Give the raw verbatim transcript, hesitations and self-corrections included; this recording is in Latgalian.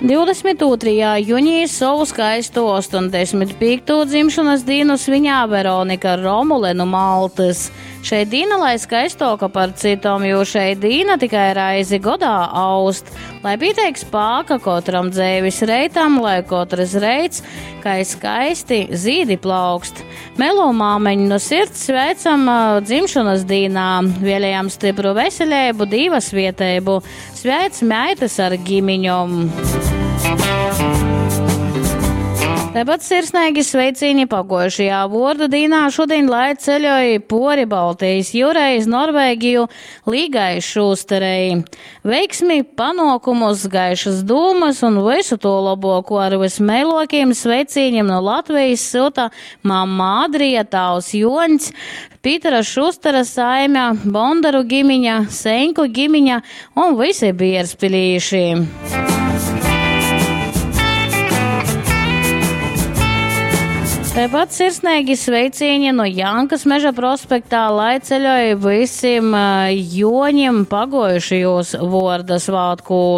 Divdesmit ūtrajā junī sovu skaistu ostoņdesmit pīktū dzimšanas dīnu sviņā Veronika Romule nu Maltys. Šei dīna lai skaistoka par cytom, jo šei dīna tikai reizi godā aust. Lai pīteik spāka kotram dzeivis reitam, lai katrs reits, kai skaisti zīdi plaukst. Melo māmeņu no sirds sveicam, ā, dzimšanas dīnā, vēlējam stipru veselību, Dīva svieteibu. Sveic meitas ar gimiņom. Tāpat sirsnīgi sveicīni pagojušajā vordu dīnā šodien, lai ceļoja pori Baltijas jūrai iz Norvēgiju Līgai Šūsterei. Veiksmi, panokumus, gaišas dūmas un visu to laboko ar vismeilokiem sveicīņiem no Latvijas silta mamma Adrija, tavs Joņs, Pītera Šustera saime, Bondaru gimiņa, Senku gimiņa un visi bierzpilīši. Tāpat sirsnīgi sveicīņi no Jankas meža prospektā, lai ceļoja visiem, eh, joņiem pagojušajos vorda svētkos.